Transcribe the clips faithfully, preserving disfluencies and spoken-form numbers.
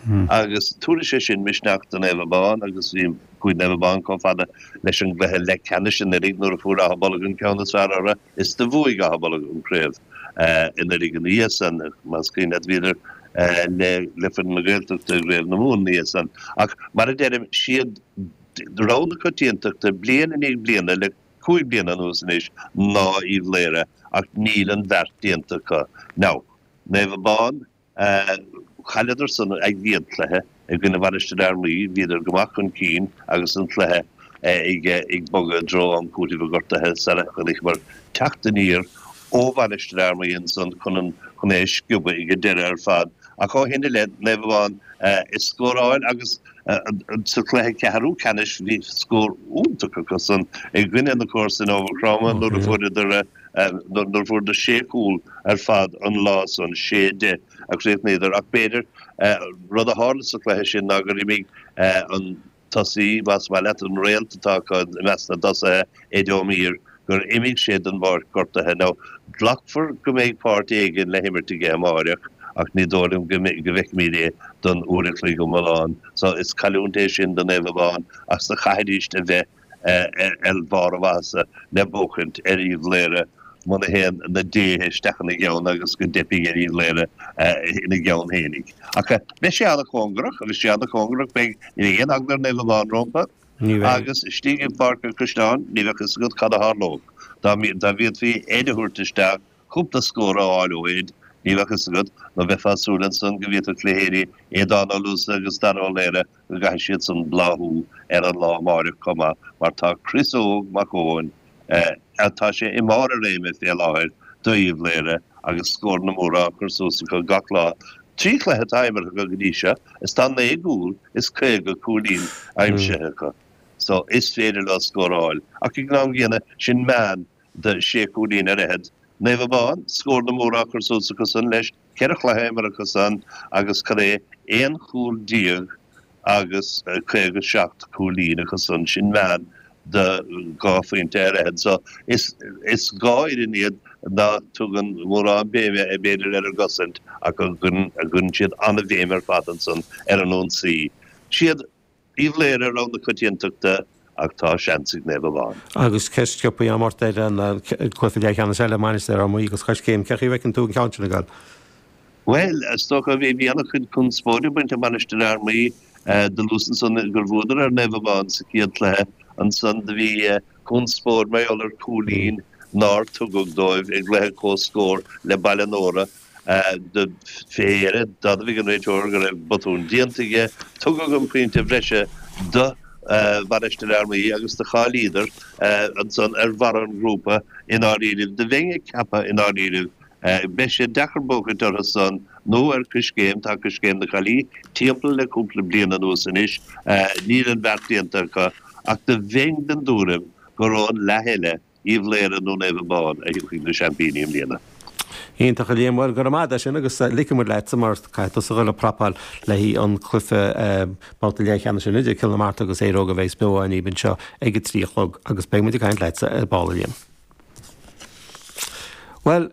Agus tabharfaidh sé sin misneach do Naomh Abán agus bhí chuaigh Naomh Abán chomh fada leis an gcluiche leathcheannais anuraidh nuair a fuair Áth Bolg an ceann is fearr orthu is do bhuaigh Áth Bolg an chraobh anuraidh ina dhiaidh san, más cuimhin leat bhíodar le le foireann na Gaeltachta i gCraobh na Mumhan ina dhiaidh san. Ach mar a deirim, siad rogha na coitiantachta bliain i ndiaidh bliana le cúig bliana anuas anois ná Uíbh Laoghaire ach níl an bheart déanta acu. Now, Naomh Abán, Chailleadar san a gcéad chluiche i gcoinne Mhainistir Fhear Maí, bhíodar go maith chun cinn agus an cluiche ag bogadh i dtreo am cúitimh an ghortaithe sara chonaiceamar teacht aniar ó Mhainistir Fhear Maí ansan chun chun é a sciobadh ag an deireadh ar fad. Ach ó shin i leith, Naomh Abán ag scóráil agus sa chluiche ceathrú ceannais bhí scór iontach acu san i gcoinne na comharsan ó Mhaigh Chromtha nuair a fuaireadar nuair a fuaireadar sé chúl ar fad an lá san, sé a deich a chríochnaíodar. Ach b'fhéidir, rud a tharla sa chluiche sin ná gur imigh an tosaí, más maith leat, an réalt atá acu i measc na dtosaithe, Ed O'Meara, gur imigh sé den bpáirc gortaithe. Now, glacfar go mbeidh páirt éigin le himirt aige amáireach ach ní dóigh liom go bhfeicfimid é don uair a chloig iomlán. So, is cailliúint é sin do Naomh Abán ach do chaithfidíst a bheith ar bharr a mhaitheasa le buachaint ar Uíbh Laoghaire muna théann na déithe isteach ina gceann agus go dteipfidh ar Uíbh Laoghaire ina gceann fhéinig. Ach beidh sé an-chóngarach, beidh sé an-chóngarach, beidh, ní bheidh aon eagla ar Naomh Abán rompu agus istigh i bPáirc an Chaisleáin ní bheadh fhios agat cad a tharlódh. Dá bhféadfaí Ed a thabhairt isteach, cúpla scór a fháil ó Ed, ní bheadh fhios agat, nó bheifeá ag súil ansan go bhféadfadh leithéidí Aodán Ó Luasa agus Dara Ó Laoire go gcaithfidh siad san bláthú ar an lá amáireach chomh maith mar tá Chris Óg Mac Eoin, tá sé i mbarr a réime fé láthair d'Uíbh Laoire agus scóranna móra á cur suas acu gach lá. Trí chluiche atá imeartha acu go dtí seo is tá naoi gcúl is caoga cúilín aimsithe acu so is féidir leo scóráil ach ag an am gcéanna sin meán de sé chúilín ar fhichead. Naomh Abán, scóranna móra á cur suas acu san leis, ceithre chluiche imeartha acu san agus cad é, aon chúl déag agus caoga seacht cúilín acu san, sin meán de dhá phointe ar fhichead. So is is dhá fhoireann iad ná tugann mórán béime b'fhéidir ar an gcosaint ach a gcuireann siad an-bhéim ar fad ansan ar an ionsaí. Siad Uíbh Laoire rogha na coitiantachta ach tá seans ag Naomh Abán. Agus ceist sciobtha agam ort ar an cluiche leathcheannais eile, Mainistir Fhear Maí agus Coiscéim. Cén chaoi a bhfeiceann tú an ceann sin ag dul? Bhuel, is dócha, bhí an-chuid conspóide ag baint le Mainistir Fhear Maí. Do luas ansan gur bhuadar ar Naomh Abán sa chéad chluiche. Ansan do bhí conspóid mar gheall ar chúilín nár tugadh dóibh i gcluiche comhscóir le Baile Nóra. Fé dheireadh, d'admhaigh an réiteoir go raibh botún déanta aige. Tugadh an pointe bhreise do Mhainistir Fhear Maí agus do cháilíodar ansan ar bharr an ghrúpa i ndáiríribh. Do bheinn ag ceapadh i ndáiríribh, beidh sé deacair buachaint orthu san nó ar Coiscéim, tá Coiscéim na Caillí timpeall le cúpla bliain anuas anois, níl an bheart déanta acu ach do bheinn den dtuairim gur ón leath eile Uíbh Laoire nó Naomh Abán a thiocfaidh na seaimpíní i mbliana. Iontach a Liam, bhuel go raibh maith agat as sin agus ligfidh muid leatsa mar caithfidh tusa dhul ag prapáil le haghaidh an cluiche babhta leathcheannais sin idir Cill na Martra agus Éire Óg a bheas beo againn anseo ag a trí a chlog agus beidh muid ag caint leatsa ar ball a Liam. Bhuel,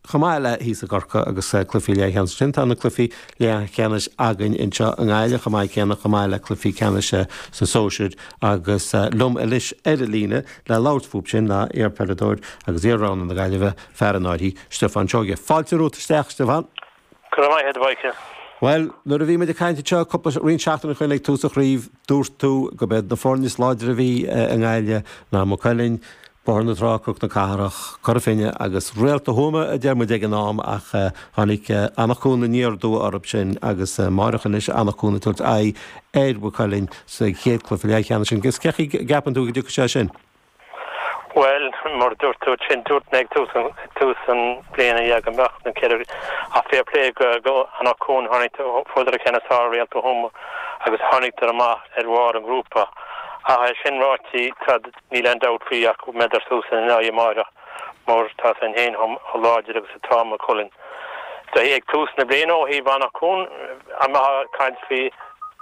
Chomh maith le thíos i gCorcaigh agus cluichí leathcheannais ansin, tá na cluichí leathcheannais againn anseo i nGaillimh chomh maith céanna, chomh maith le cluichí ceannais sna sóisir agus liom anois ar an líne le labhairt fúthu sin ná iarpheileadóir agus iar-rogha na Gaillimhe, fear an áirthí, Stiofán Seoige. Fáilte romhat isteach, Stiofán. Go raibh maith agat, a Mhichael. Bhuel, nuair a bhí muid ag caint anseo cúpla, roinnt seachtainí ó shin ag tús an chraobh, dúirt tú go b'iad na foirne is láidre a bhí i nGaillimh ná Maigh Cuilinn, Bóthar na Trá, Cnoc na Cathrach, Cora Finne agus Réalta Thuama a deir muid ag an am ach tháinig Anach Cuain aniar aduaidh orthu sin agus amáireach anois Anach Cuain ag tabhairt aghaidh ar Mhaigh Cuilinn sa chéad cluiche leathcheannais sin. Agus cén chaoi a gceapann tú go dtiocfaidh sé sin? Bhuel, mar a dúirt tú ansin, dúirt mé ag tús an tús an bliana yeah go mbeadh na ceithre ach fair play go go Anach Cuain tháinig fuaireadar an ceann is fearr ar Réalta Thuama agus tháinig amach ar bharr an ghrúpa. Ach é sin ráite tá Níl aon dabht faoi ach go mbeidar suas ina n-aghaidh amáireach mar tá a fhios againn féin chomh láidir agus atá Maigh Cuilinn. Ag tús na bliana ó thaobh Anach Cuain a mbeifeá ag caint faoi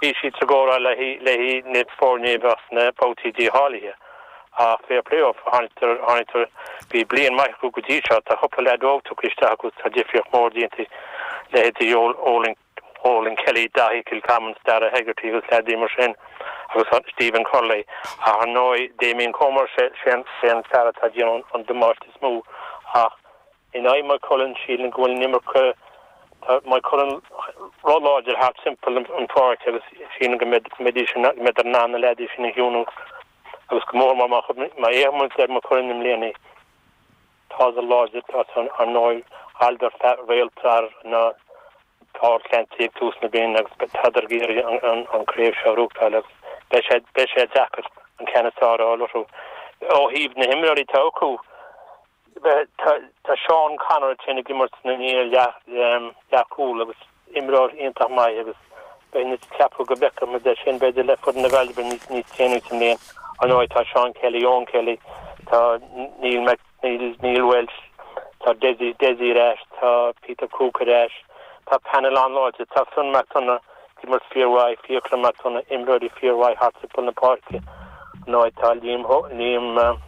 bhí siad sa gcomhrá le haghaidh na foirne a bheadh sna babhtaí dícháilithe ach fair play dóibh tháinig tháinig bhí bliain maith acu go dtí seo tá cúpla leaid óg tugtha isteach acu tá difríocht mór déanta leithéidí Eoin Olin Kelly, Daithí Kilcommons, Dara Hegarty agus leaidí mar sin agus Stephen Curley. Ach ar ndóigh Damien Comer sé sé an fear atá ag déanamh an damáiste is mó ach in aghaidh Maigh Cuilinn sílim go bhfuil an iomarca tá Maigh Cuilinn róláidir thart timpeall an pháirc agus sílim go mbeidh go mbeidís go mbeidh in ann na leaidí sin a chiúnú agus go mór má má fhéachann muid ar Maigh Cuilinn i mbliana tá láidir tá ar ndóigh chailleadar réalta na Paul Clancy ag tús na bliana agus tádar ag iarraidh an an craobh seo a bhuachtáil agus beidh sé beidh sé deacair an ceann is fearr a fháil orthu. Ó thaobh na himreoirí atá acu tá Seán Connor sin ag imirt na leathchúl agus imreoir iontach maith agus beidh na ceapadh go bhfeicfidh muid é sin b'fhéidir le foireann na Gaillimhe níos níos déanaí sa mbliain. Ar ndóigh tá Seán Kelly, Eoin Kelly, tá Neil Mac Neil Neil Welsh, tá Desi Desi ar ais, tá Peter Cooke ar ais, tá panel an-láidir, tá Fionn McDonagh ag imirt fíormhaith, Fiachra McDonagh, imreoirí fíormhaith thart timpeall na páirce. Ar ndóigh tá Liam Liam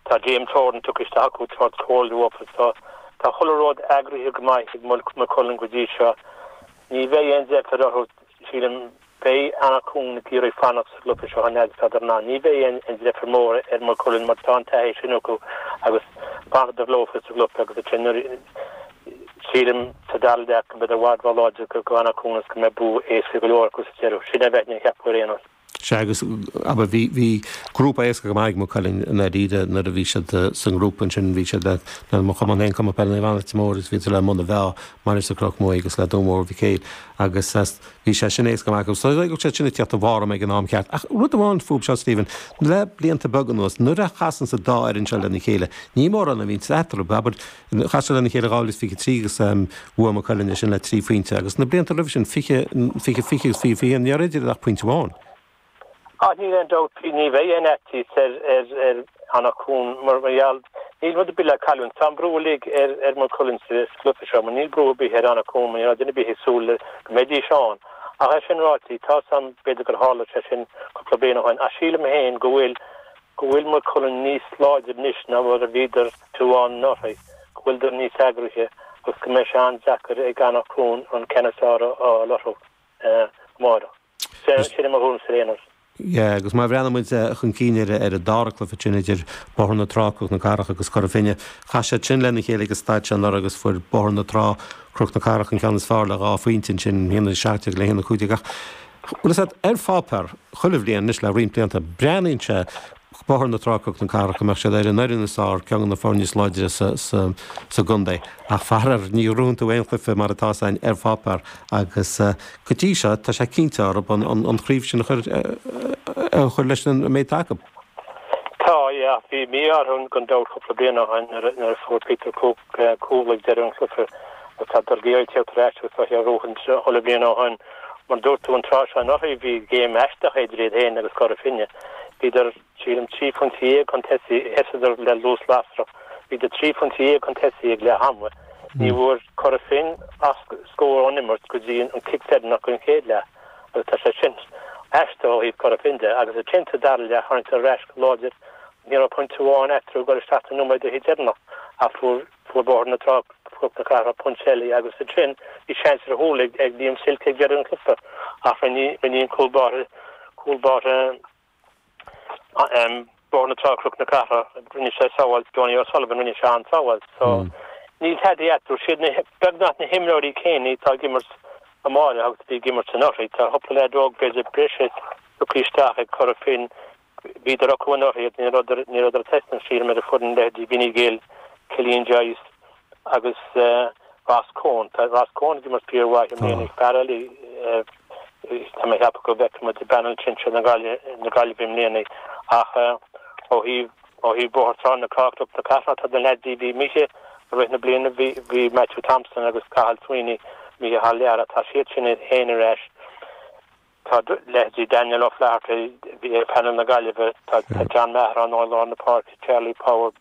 Tá James Horan tugtha isteach acu tabhairt comhairle dófa so tá chuile rud eagraithe go maith ag Maigh Cuilinn go dtí seo. Ní bheidh aon deifir orthu sílim beidh Anach Cuain ag iarraidh fanacht sa gcluiche seo an fhad is atá in ann. Ní bheidh aon deifir mór ar Maigh Cuilinn mar tá an taithí sin acu agus fanfaidh leofa sa gcluiche agus ansin nuair sílim sa dara leath go mbeidh i bhfad róláidir go Anach Cuain agus go mbeidh bua éasca go leor acu sa deireadh. Sin a bheinn ag ceapadh ar aon nós. Sea, agus abair bhí bhí grúpa éasca go maith ag Maigh Cuilinn i ndáiríre nuair a bhí siad sa ngrúpa ansin bhí siad le le mo chumann féin Cumann Peile Naomh Anna Leitir Móir agus bhí siad le Muine Mheá, Mainistir Chnoc Muaidhe agus le Dún Mór Mhic Éil agus bhí sé sin éasca go maith acu. So go sé sin ag teacht i bhform ag an am ceart. Ach rud amháin fúb seo Stephen, le blianta beaga anuas nuair a chasann an dá fhoireann seo lena chéile, ní mórán a bhíonn eatarthu, abair chas siad lena chéile dhá mhíle is fiche trí agus bhuaigh Maigh Cuilinn é sin le trí phointe agus na blianta roimhe sin fiche fiche fiche agus fiche fiche ní raibh idir ach pointe amháin. Ah, níl aon dabht, ní bheidh aon fhaitíos ar ar ar Anach Cuain mar mar gheall níl rud ar bith le cailliúint. Tá an brú uilig ar ar Maigh Cuilinn sa gcluiche seo, mar níl brú ar bith ar Anach Cuain mar ní raibh duine ar bith ag súil le go mbeidís ann. Ach é sin ráite, tá sam b'fhéidir gur tharla sé sin cúpla bliain ó shin, ach sílim féin go bhfuil go bhfuil Maigh Cuilinn níos láidre anois ná mar a bhíodar tú anuraidh, go bhfuileadar níos eagraithe agus go mbeidh sé an-deacair ag Anach Cuain an ceann is fearr a fháil orthu amárach. Sin é mo thuairimse ar aon nós. Yeah, agus má bhreathnaíonn muid chun cinn ar ar an dara cluiche sin idir Bóthar na Trá, Cnoc na Cathrach agus Cora Finne, chas siad sin lena chéile ag an staid seo anuraidh agus fuair Bóthar na Trá, Cnoc na Cathrach an ceann is fearr le dhá phointe ansin, a haon a seacht déag le haon a cúig déag. Ach bhfuil a fhios agat, ar pháipéar, chuile bhliain anois le roinnt blianta, breathnaíonn sé Bóthar na Trá, Cnoc na Cathrach go mbeadh siad ar an fhoireann is fearr, ceann de na foirne is láidre sa sa sa gcontae. Ach faraor, ní ghnóthaíonn tú aon chluiche mar atá san ar pháipéar agus go dtí seo tá sé cinnte orthu an an an chraobh sin a chur a chur leis an méid atá acu. Tá, yeah, bhí mí-ádh orthu gan dabht cúpla bliain ó shin nuair a fuair Peter Cooke cúl ag deireadh an chluiche agus tá ag iarraidh teacht ar ais agus tá sé róthaint chuile bhliain ó shin. Mar dúirt tú an tráth seo anuraidh bhí game aisteach idir iad féin agus Cora Finne. Bhíodar sílim trí phointe dhéag chun tosaigh, sheasadar le luas lasrach. Bhíodar trí phointe dhéag chun tosaigh ag leath ama. Ní bhfuair Cora Finne ach scór ón imirt go dtí an cic deireanach den chéad leath agus tá sé sin aisteach ó thaobh Cora Finne de. Agus ansin sa dara leath tháinig siad ar ais go láidir. Ní raibh pointe amháin eatarthu ag dul isteach sna nóiméadaí deireanach ach fuair fuair Bóthar na Trá Cnoc na Cathrach pointe eile agus ansin bhí seans ar chúl ag ag Liam Silke ag deireadh an chluiche ach rinne rinne an cúl báire cúl báire Bóthar na Trá Cnoc na Cathrach rinne sé sábháilt Donie O'Sullivan rinne sé an-sábháilt so níl tada eatarthu siad na beagnach na himreoirí céanna atá ag imirt amárach agus a bhí ag imirt anuraidh tá cúpla leaid óg b'fhéidir breise tugtha isteach ag Cora Finne bhíodar acu anuraidh ní rabhadar ní rabhadar ag taispeáint sílim ar an foireann leithéidí Vinny Gill Cillian Joyce agus Ross Coen tá Ross Coen ag imirt fíormhaith i mbliana fear eile tá mé ag ceapadh go bhfeicfidh muid i bpanel sinsir na Gaillimhe na Gaillimhe i mbliana ach ó thaobh ó thaobh Bóthar Trá na Cnoc na Cathrach tá na leaids bhí imithe i rith na bliana bhí bhí Matthew Thompson agus Cathal Sweeney imithe thar lear tá siad sin féin ar ais tá leithéidí Daniel O'Flaherty bhí ar panel na Gaillimhe tá tá John Maher ann i lár na páirce Charlie Power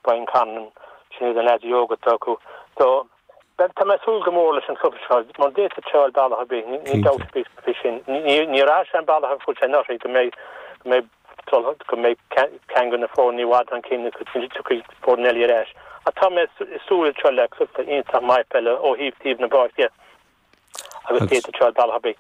Brian Conlon sin iad na leaids óga atá acu so tá mé ag súil go mór leis an chluiche seo mar d'fhéadfadh sé dul bealach ar bith ní dabht ar bith faoi sin ní raibh sé an bealach a fuair sé anuraidh go mbeidh go mbeidh go mbeidh ceann de na foirne i bhfad chun cinn go dtiocfaidh foireann eile ar ais. Ach tá mé ag súil seo le cluiche iontach maith peile ó thaobh taobh na páirce Agus d'fhéadfadh bealach ar bith.